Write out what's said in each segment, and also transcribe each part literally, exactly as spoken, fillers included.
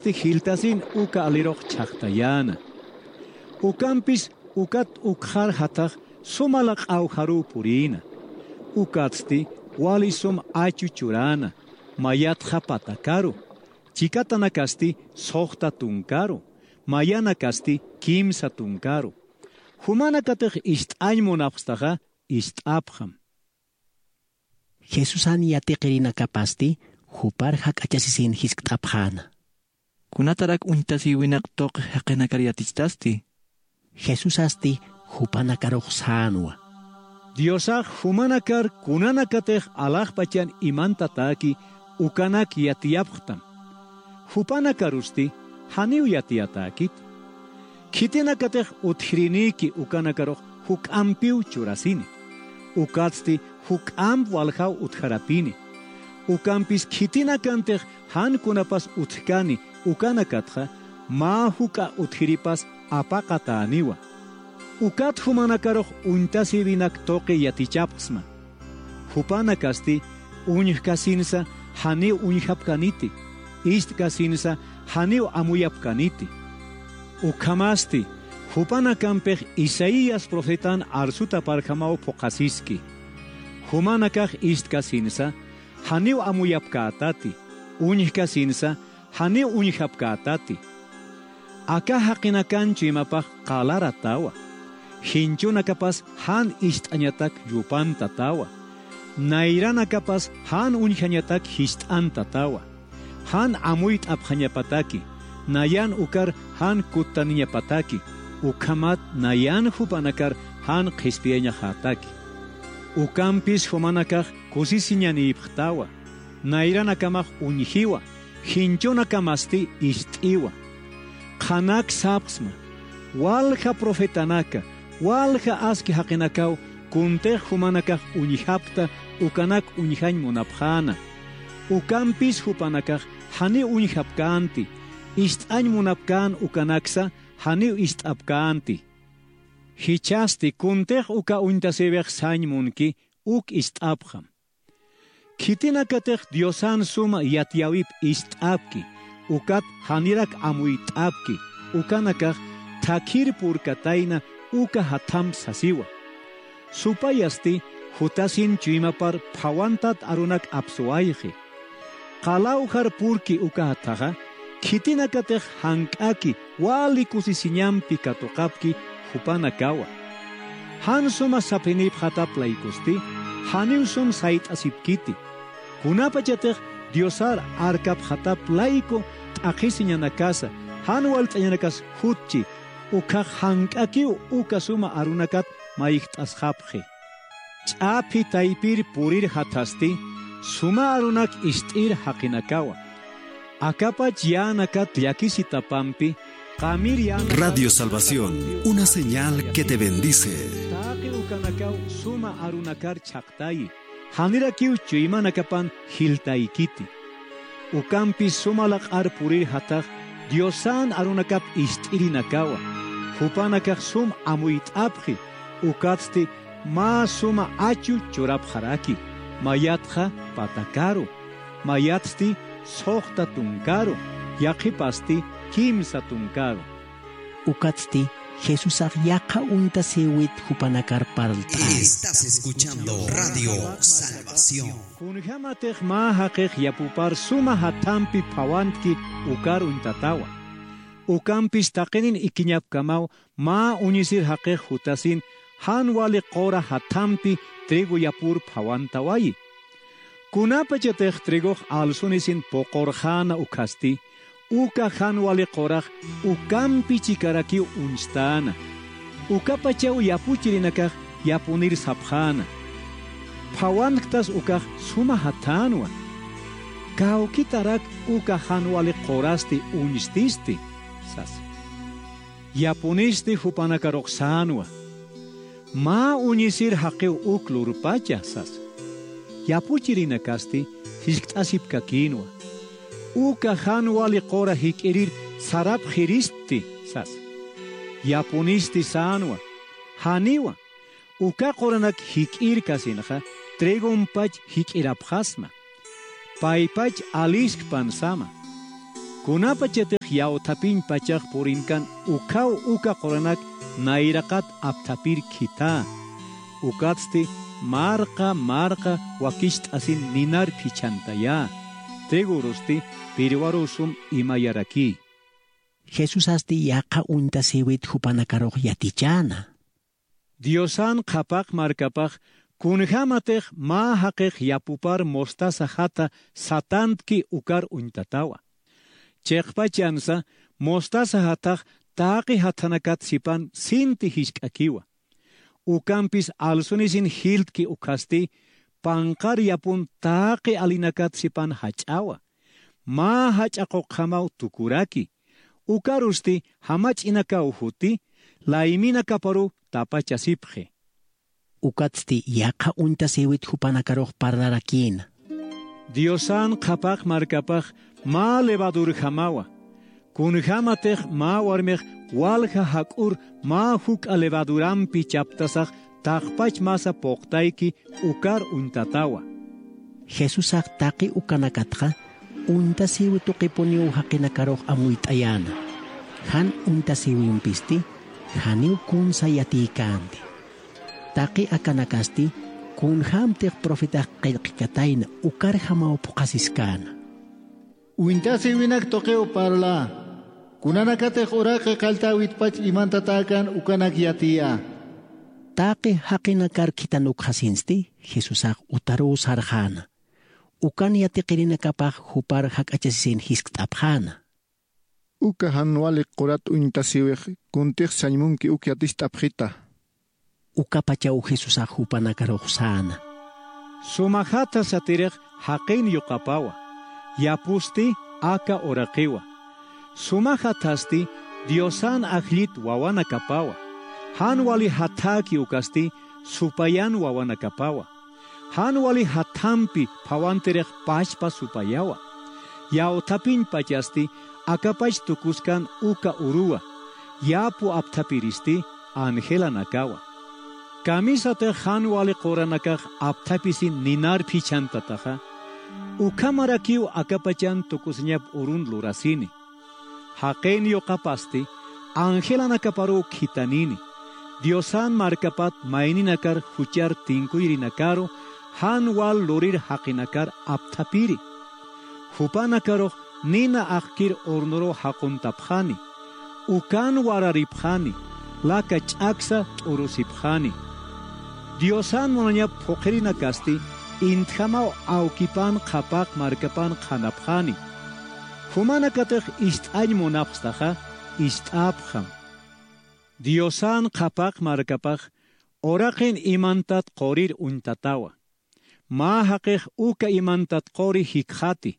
Jiltasin uka alirux chhaqtayäna. Ukampis ukat ukxar jathax suma laq'awjaruw purïna. Ukatsti wali sum achu churäna, mayatxa patakaru, chikatanakasti suxta tunkaru, mayanakasti kimsa tunkaru. Jumanakatix ist'añ munapxstaxa, ist'apxam. Jesusan yatiqirinakapasti jupar jak'achasisin jiskt'apxäna. ¿Kunatarak uñtasïwinaq tuqi jaqinakar yatichtasti? Jesusasti jupanakarux sänwa. Diosax jumanakar kunanakatix alaxpachan imantatäki ukanak yatiyapxtam. Jupanakarusti janiw yatiyatäkiti. Khitinakatix utjirinïki ukanakarux juk'ampiw churasini. Ukatsti juk'amp waljaw utjarapini. Ukampis khitinakantix jan kunapas utjkani ukanakatxa, mä juk'a utjiripas apaqatäniwa. Ukat jumanakarux uñtasïwinak tuqi yatichapxsma. Jupanakasti uñjkasinsa janiw uñjapkäniti, ist'kasinsa janiw amuyapkäniti. Ukhamasti, jupanakampix Isaías profetan arsutaparjamaw phuqhasiski. Jumanakax ist'kasinsa janiw amuyapkätati, uñjkasinsa janiw uñjapkätati. Aka jaqinakan chuymapax qalaratawa. Jinchunakapas jan ist'añatak yupantatawa. Nayranakapas jan uñjañatak jist'antatawa. Jan amuyt'apxañapataki, nayan ukar jan kuttaniñapataki, ukhamat nayan jupanakar jan qhispiyañaxätaki. Ukampis jumanakax kusisiñanïpxtawa, nayranakamax uñjiwa, jinchunakamasti ist'iwa. Qhanak sapxsma, walja profetanaka, walja aski jaqinakaw kuntix jumanakax uñjapkta ukanak uñjañ munapxäna. Ukampis jupanakax janiw uñjapkänti, ist'añ munapkän ukanaksa janiw ist'apkänti. Jichhasti kuntix uka uñtasïwix sañ munki, uk ist'apxam. Khitinakatix Diosan suma yatiyäwip ist'apki, ukat janirak amuyt'apki, ukanakax thakhir purkatayna uka jathamp sasiwa. Supayasti jutasin chuymapar phawantat arunak apsuwayxi. Qalawjar purki uka jathaxa, khitinakatix jank'aki wali kusisiñampi katuqapki jupanakawa. Jan suma saphinïpxatap laykusti, janiw sum sayt'asipkiti. Kunapachatix Diosar arkapxatap layku t'aqhisiñanakasa, jan walt'añanakas jutchi, ukhax jank'akiw uka suma arunakat mayjt'asxapxi. Ch'aphi taypir purir jathasti, suma arunak ist'ir jaqinakawa. Akapach yänakat llakisitapampi, qamir yänakat... Radio Salvación, una señal que te bendice. Taqi ukanakaw suma arunakar chhaqtayi, janirakiw chuymanakapan jiltaykiti. Ukampis suma laq'ar purir jathax Diosan arunakap ist'irinakawa, jupanakax sum amuyt'apxi, ukatsti mä suma achu churapxaraki, mayatxa patakaru, mayatsti suxta tunkaru, yaqhipasti kimsa tunkaru. Ukatsti Jesusax yaqha uñtasïwit jupanakar parlt'äna. Estás escuchando Radio Salvación. Kunjamatix mä jaqix yapupar suma jathampi phawantki ukar uñtatawa. Ukampis taqinin ikiñapkamaw mä uñisir jaqix jutasin jan wali qura jathampi trigo yapur phawantawayi. Kunapachatix trigox alsunisin puqurxäna ukhasti, uka jan wali qurax ukampi chikarakiw uñstäna. Ukapachaw yapuchirinakax yapunir sapxäna: Phawanktas ukax suma jathänwa. Kawkitarak uka jan wali qurasti uñstisti, sasa. Yapunisti jupanakarux sänwa: Mä uñisir jaqiw uk lurpacha, sasa. Yapuchirinakasti jiskt'asipkakïnwa: Uka jan wali qura jik'irir sarapxiristi, sasa. Yapunisti sänwa: Janiwa, uka quranak jik'irkasinxa trigompach jik'irapxasma. Paypach aliskpan sama. Kunapachatix yawthapiñ pachax purinkan ukhaw uka quranak nayraqat apthapir khitha. Ukatsti marqa marqa wakicht'asin ninar phichhantayä. Trigurusti pirwaru sum imayaraki. Jesusasti yaqha uñtasïwit jupanakarux yatichäna. Diosan qhapaq markapax kunjämatix mä jaqix yapupar mostaza jata satantki ukar uñtatawa. Chiqpachansa mostaza jatax taqi jathanakat sipan sinti jisk'akiwa. Ukampis alsunisin jiltki ukkhasti panqar yapun taqi alinakat sipan jach'awa. Mä jach'a quqjamaw tukuraki. Ukarusti jamach'inakaw juti layminakaparu tapachasipxi. Ukatsti yaqha uñtasïwit jupanakarux parlarakïna. Diosan qhapaq markapax mä levadurjamawa. Kunjämatix mä warmix walja jak'ur mä juk'a levadurampi chaptasax taqpach masa puqtayki ukar uñtatawa. Jesusax taqi ukanakatxa uñtasïwi tuqipuniw jaqinakarux amuyt'ayäna. Jan uñtasïwimpisti janiw kunsa yatïkänti. Taqi akanakasti kunjämtix profetax qillqkatayna ukarjamaw phuqhasiskäna. Uñtasïwinak tuqiw parlä. Kunanakatix uraqi qalltäwitpach imantatäkän ukanak yatiyä. Taqi jaqinakar khitan ukxasinsti Jesusax utaruw sarxäna. Ukan yatiqirinakapax jupar jak'achasisin jiskt'apxäna. Uka jan wali qurat uñtasïwix kuntix sañ munki uk yaticht'apxita. Ukapachaw Jesusax jupanakarux säna. Suma jatha satirix jaqin yuqapawa. Yapusti aka uraqiwa. Suma jathasti Diosan ajllit wawanakapawa. Jan wali jathäki ukasti supayan wawanakapawa. Jan wali jathampi phawantirix pachpa supayawa. Yawthapiñ pachasti akapach tukuskan uka uruwa. Yapu apthapiristi angelanakawa. Kamisatix jan wali quranakax apthapisin ninar phichhantataxa, ukhamarakiw akapachan tukusiñap urun lurasini. Jaqin yuqapasti angelanakaparuw khitanini. Diosan markapat mayninakar juchar tinkuyrinakaru jan wal lurir jaqinakar apthapiri. Jupanakarux nina aqkir hornoruw jaquntapxani. Ukan wararipxani. Laka ch'aksa t'urusipxani. Diosan munañap phuqhirinakasti intjamaw awkipan qhapaq markapan qhanapxani. Jumanakatix ist'añ munapxstaxa ist'apxam. Diosan qhapaq markapax uraqin imantat qurir uñtatawa. Mä jaqix uka imantat quri jikxati.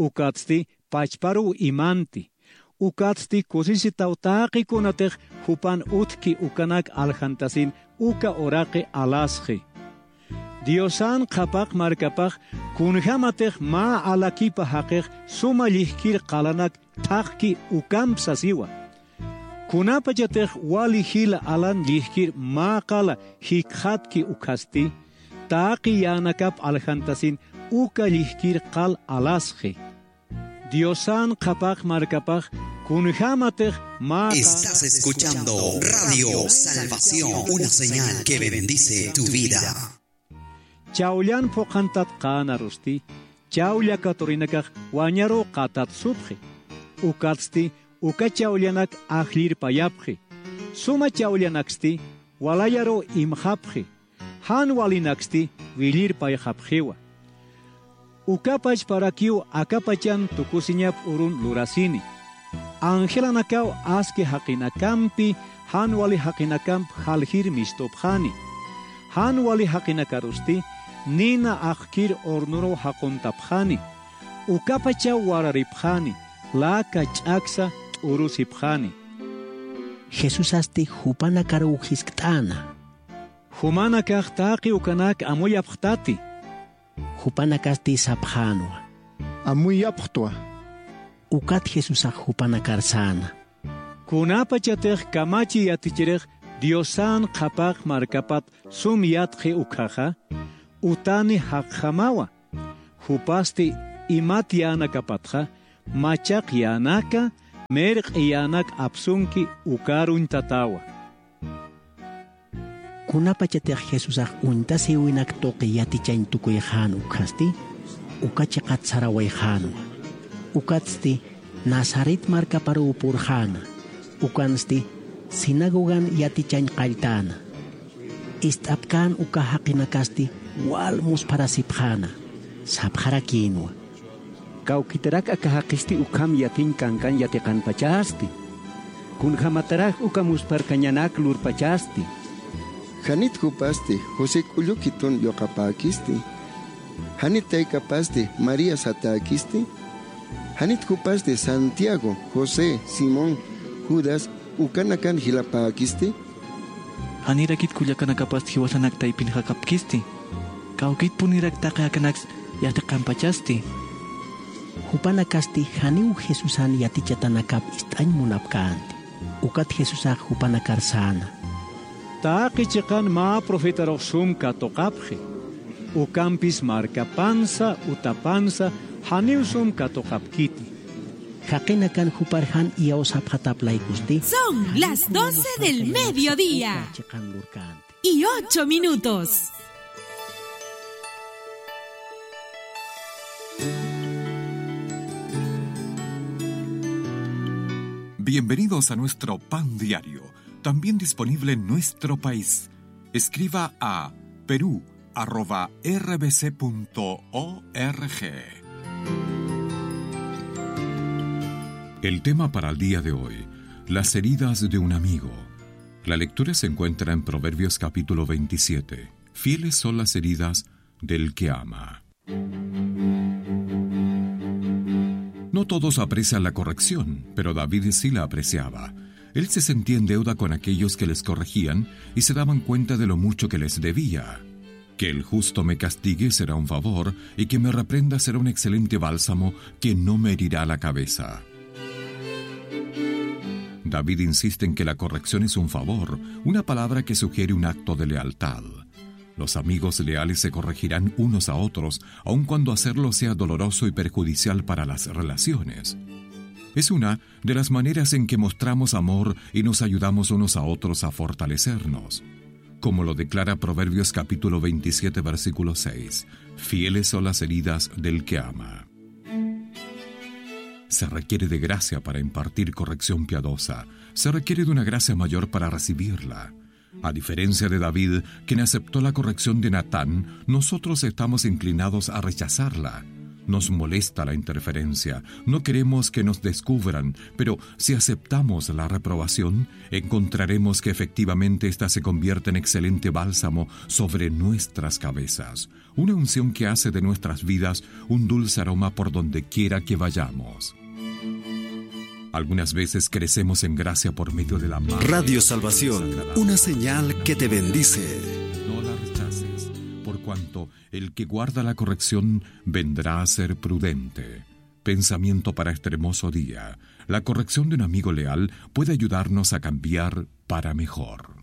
Ukatsti pachparuw imanti. Ukatsti kusisitaw taqi kunatix jupan utjki ukanak aljantasin uka uraqi alasxi. Diosan qhapaq markapax kunjämatix mä alakipa jaqix suma llijkir qalanak thaqki ukamp sasiwa. Kunapachatix wali jila alan llijkir mä qala jikxatki ukkhasti, taqi yänakap aljantasin uka llijkir qal alasxi. Diosan qhapaq markapax kunjämatix mä qala. Estás escuchando Radio Salvación, una señal que bendice tu vida. Chawllan phuqhantatqänarusti, chawlla katurinakax wañaruw qatatsupxi. Ukatsti uka chawllanak ajllirpayapxi. Suma chawllanaksti walayaruw imxapxi. Jan walinaksti willirpayxapxiwa. Uka pachparakiw akapachan tukusiñap urun lurasini. Angelanakaw aski jaqinakampi jan wali jaqinakamp jaljir mistupxani. Jan wali jaqinakarusti nina aqkir hornoruw jaquntapxani. Ukapachaw wararipxani, laka ch'aksa t'urusipxani. Jesusasti jupanakaruw jiskt'äna. Jumanakax taqi ukanak amuyapxtati. Jupanakasti sapxänwa. Amuyapxtwa. Ukat Jesusax jupanakar säna. Kunapachatix kamachi yatichirix Diosan qhapaq markapat sum yatxi ukkhaxa, utani jaqjamawa. Jupasti imat yänakapatxa, Machaq yänaka, mirq'i yänak apsunki ukaruñ tatawa. Kunapachatix Jesusax uñtasïwinak tuqi yatichañ tukuyxän ukkhasti, uka chiqat sarawayxänwa. Ukatsti Nazaret markaparuw purxäna, ukansti sinagogan yatichañ qalltäna. Ist'apkän uka jaqinakasti wal muspharasipxäna, sapxarakïnwa. Kawkitarak aka jaqisti ukham yatiñ kankan yatiqanpachasti. Kunjämatarak uka muspharkañanak lurpachasti. ¿Janit jupasti José k'ullu khitun yuqapäkisti? ¿Janit taykapasti María satäkisti? ¿Janit jupasti Santiago, José, Simón, Judas ukanakan jilapäkisti? ¿Janirakit kullakanakapasti jiwasanak taypinxakapkisti? ¿Kawkitpunirak taqi akanaks yatiqanpachasti? Jupanakasti janiw Jesusan yatichatanakap ist'añ munapkänti. Ukat Jesusax jupanakar säna: Taqi chiqan mä profetarux sum katuqapxi. Ukampis markapansa, utapansa, janiw sum katuqapkiti. Jaqinakan jupar jan iyawsapxatap laykusti. Son las doce del mediodía. Chiqan lurkänti. Y ocho minutos. Bienvenidos a nuestro pan diario, también disponible en nuestro país. Escriba a perú arroba r b c punto o r g. El tema para el día de hoy: las heridas de un amigo. La lectura se encuentra en Proverbios capítulo veintisiete. Fieles son las heridas del que ama. No todos aprecian la corrección, pero David sí la apreciaba. Él se sentía en deuda con aquellos que les corregían y se daban cuenta de lo mucho que les debía. Que el justo me castigue será un favor, y que me reprenda será un excelente bálsamo que no me herirá la cabeza. David insiste en que la corrección es un favor, una palabra que sugiere un acto de lealtad. Los amigos leales se corregirán unos a otros, aun cuando hacerlo sea doloroso y perjudicial para las relaciones. Es una de las maneras en que mostramos amor y nos ayudamos unos a otros a fortalecernos. Como lo declara Proverbios capítulo veintisiete, versículo seis: "Fieles son las heridas del que ama". Se requiere de gracia para impartir corrección piadosa. Se requiere de una gracia mayor para recibirla. A diferencia de David, quien aceptó la corrección de Natán, nosotros estamos inclinados a rechazarla. Nos molesta la interferencia. No queremos que nos descubran, pero si aceptamos la reprobación, encontraremos que efectivamente ésta se convierte en excelente bálsamo sobre nuestras cabezas. Una unción que hace de nuestras vidas un dulce aroma por donde quiera que vayamos. Algunas veces crecemos en gracia por medio de la mano. Radio Salvación, una señal que te bendice. No la rechaces, por cuanto el que guarda la corrección vendrá a ser prudente. Pensamiento para este hermoso día. La corrección de un amigo leal puede ayudarnos a cambiar para mejor.